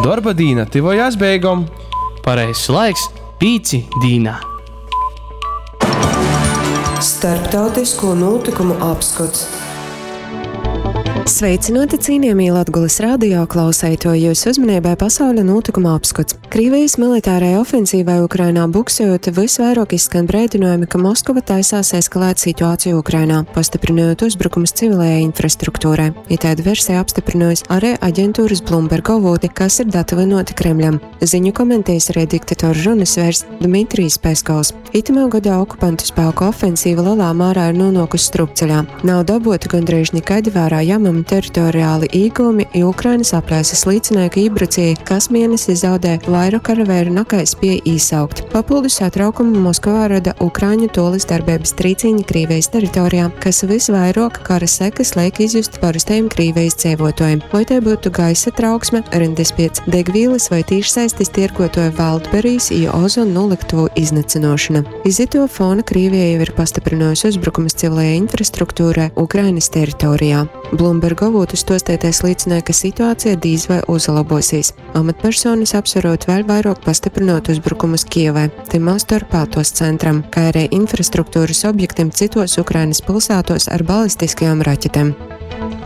Dorba dīna tyvojās beigom. Pareizs laiks pīci dīnā. Starptautisko nūtykumu apskots. Sveicināti cienījamie Latgulas radio klausētoji, jūsu uzmanībai pasauļa nūtykuma apskots. Krievijas militārai ofensīvai Ukrainā buksējot, visvairāk izskan brēdinājumi, ka Moskova taisās eskalēt situāciju Ukrainā, pastiprinot uzbrukumus civilajai infrastruktūrai. Itādu versiju apstiprinājusi arī aģentūras Bloomberg avoti, kas ir datavinoti Kremļam. Ziņu komentējis arī diktatora runas vērs Dmitrijs Peskovs. Itamā gadā okupantu spēku ofensīva lielā mērā ir nonākusi strupceļā. Nav dabūti gandrīz nekādi vērā jāmami teritoriāli īguvumi, jo Ukrainas aplēses liecināja, ka iebrucēji kas mēnesi zaudē vairāk karavēru nekā spēja īsaukt. Papildus satraukumu Moskovā rada Ukraiņu tolis darbības trīciņi Krīvijas teritorijā, kas visvairāk kara sekas liek izjust parastajiem Krīvijas dzīvotājiem. Vai tai būtu gaisa trauksme, rindas pēc degvielas vai tīšsaistes tirgotoja Wildberries i ozonu noliktuvu iznīcināšana. Iz ituo fona Krievija jau ir pastiprinājusi uzbrukumus civilajai infrastruktūrai Ukrainas teritorijā. Bloomberg avotu stostētais liecināja, ka situācija dīz vai uzlabosies. Amatpersonas apsverot vēl vairāk pastiprinot uzbrukumus Kievai, tymā starpā tos centram, kā arī infrastruktūras objektiem citos Ukrainas pilsētos ar balistiskajām raķetēm.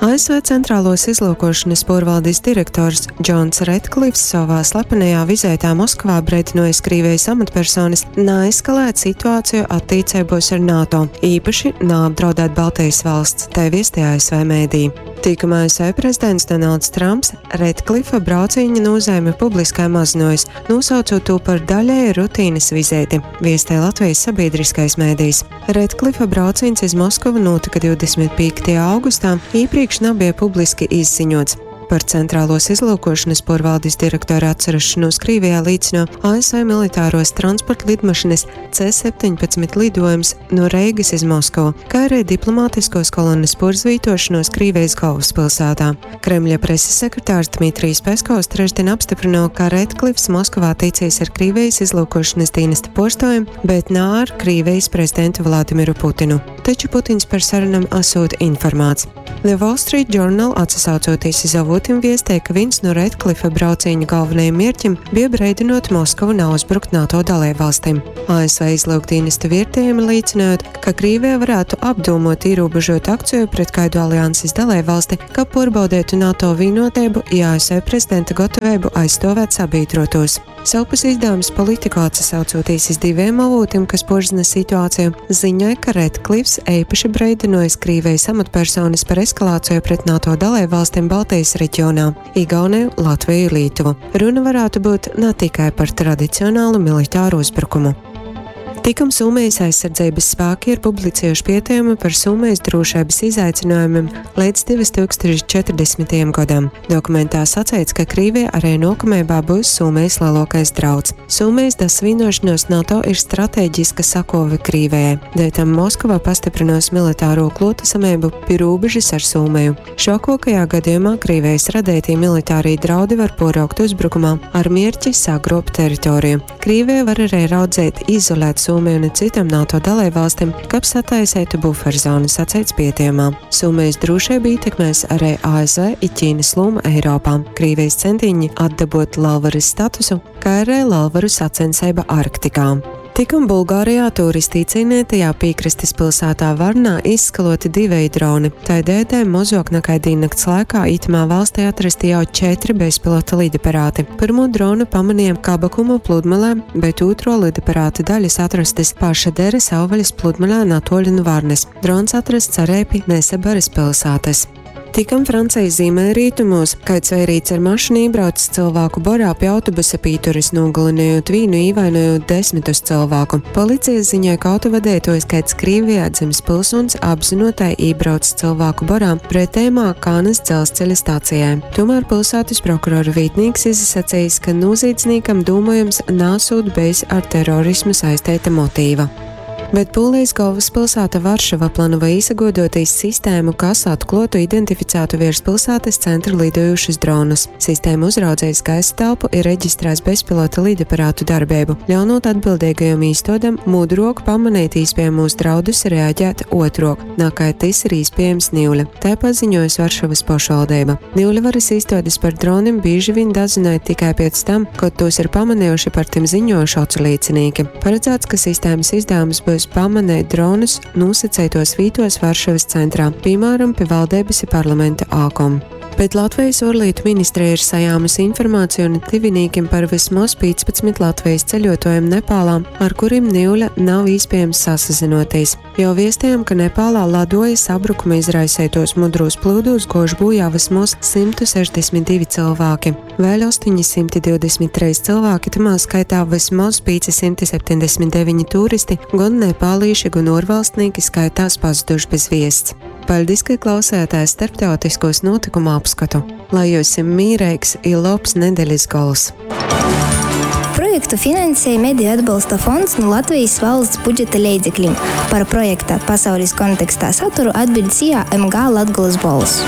ASV Centrālos izlūkošanas porvaldis direktors Džons Retklifs savā slepenajā vizītē Moskavā brīdinojis Krievijas amatpersonas naeskalēt situāciju attiecībos ar NATO, īpaši naapdraudēt Baltijas valsts, tai viestie ASV mēdī. Tikam ASV prezidents Donalds Trumps Retklifa brauciņa nozīmi publiskai mazinojis, nosaucot to par daļēju rutīnas vizīti, viestē Latvijas sabiedriskais mēdījis. Retklifa brauciens iz Moskavu notika 25. augustā, iepriekš nebija publiski izziņots. Par centrālos izlūkošanas porvaldis direktora atcerašanos Krievijā līdzino ASV militāros transporta lidmašīnas C-17 lidojums no Reigas iz Moskavu, kā arī diplomātiskos kolonas porzvītošanos Krievijas galvaspilsētā. Kremļa preses sekretārs Dmitrijs Peskovs trešdien apstiprināja, ka Redklifs Moskovā ticīs ar Krievijas izlūkošanas dienesta porstojiem, bet nā ar Krievijas prezidentu Vladimiru Putinu. Taču Putins par sarunām esot informēts. The Wall Street Journal atsaucoties iz avotiem viestē, ka viens no Redklifa brauciņu galvenajiem mērķim bija breidinot Moskavu nav uzbrukt NATO dalībvalstīm. ASV izlūkdienesta vērtējumi liecinot, ka Krievija varētu apdomot ierobežot akciju pret kādu alianses dalībvalsti, ka porbaudētu NATO vienotību i ASV prezidenta gatavību aizstāvēt sabiedrotos. Savpus izdevums Politico atsaucoties iz diviem avotiem, kas porzina situāciju, ziņoja, ka Redklifs īpaši breidinojis Krievijas amatpersonas par eskalāciju pret NATO dalībvalstīm Baltijas reģionā - Igauniju, Latviju, Lietuvu. Runa varētu būt ne tikai par tradicionālu militāru uzbrukumu. Tikam Somijas aizsardzības spēki ir publicējuši pieteikumu par Somijas drošības izaicinājumiem līdz 2040. gadam. Dokumentā sacīts, ka Krievija arī nākamajā būs Somijas lielākais drauds. Somijas dasvīnošanos NATO ir strateģiska sakove Krievijai, dēļ tam Moskava pastiprinos militāro klotasamību pie robežas ar Somiju. Šokokajā gadījumā Krievijas radītie militārie draudi var poraukt uzbrukumā ar mērķi sagrobt teritoriju. Krievija var arī raudzēt izolēt Somiju un citām NATO dalībvalstīm, kap sataisētu buferzonu, sacīts pietekumā. Somijas drošību ietekmēs arī ASV i Ķīnas loma Eiropā, Krievijas centiņi atdabot Lalvaras statusu, kā arī Lalvaru sacensība Arktikā. Tikam Bulgārijā turisti cīnītajā piekrastes pilsētā Varnā izskaloti divi droni. Tai dēdē mozok nekā diennakts laikā itamā valstī atrasti jau 4 bezpilota lidaparāti. Pirmo dronu pamanījām Kabakumu pludmalē, bet otro lidaparāta daļas atrastas paša Deres savvaļas pludmalē Natoļu nu Varnes. Drons atrasts arī pie Nesebaras pilsētas. Tikam Francijas ziemeļrietumos, kāds vērīts ar mašīnu iebraucis cilvēku borā pie autobusa pīturis, nogalinājot vīnu, īvainojot desmitus cilvēku. Policija ziņoja, ka autovadītājs kāds Krievijā dzimis pilsonis apzinotai iebraucis cilvēku borā pretējumā Kānas dzelzceļa stācijai. Tomēr pilsētas prokurora vietnieks izsacījis, ka noziedzniekam domājams nāsūt bijis ar terorismu saistīta motīva. Bet Pūlejis golvyspilsāta Varšava planavoj īsaguoduotīs sistēmu, kas atkluotu identificātu viers pilsātys centra lidojūšus dronus. Sistēma uzraudzeis gaisa telpu i reģistrēs bezpilota lidaparātu darbeibu, ļaunūt atbildeigajom īstuodem mudruok pamaneit īspiejamūs draudus i reaģēt uotruok, nakai tys ir īspiejams niule, tai paziņuojuse Varšavys pošvaldeiba. Niule varys īstuodis par dronim bīži viņ dazynoj tikai piec tam, kod tūs ir pamanejuši i par tim ziņuojuši oculīcinīki. Paradzāts, ka sistēmys izdavums byus pamaneit dronus nūsaceituos vītuos Varšavys centrā, pīmāram, pi valdeibys i parlamenta ākom. Bet Latvejis Uorlītu ministreja ir sajāmuse informaceju nu tyvinīkim par vysmoz 15 Latvejis ceļuotuojim Nepālā, ar kurim niule nav īspiejams sasazynuotīs. Jau viestejom, ka Nepālā laduoja sabrukuma izraiseituos mudrūs plyudūs guojuši būjā vysmoz 162 cylvāki. Vēļ 823 cylvāki, tymā skaitā vysmoz 579 turisti, gon nepālīši, gon uorvalstnīki skaitās pazuduši bez viests. Paļdis, ka klausējāties starptautiskūs nūtykumu apskotu. Lai jyusim mīreigs i lobs nedelis gols! Projektu finansej Mediju atbolsta fonds nu Latvejis valsts budžeta leidzeklim. Par projekta Pasaulis kontekstā saturu atbiļd SIA MG Latgolys Bolss.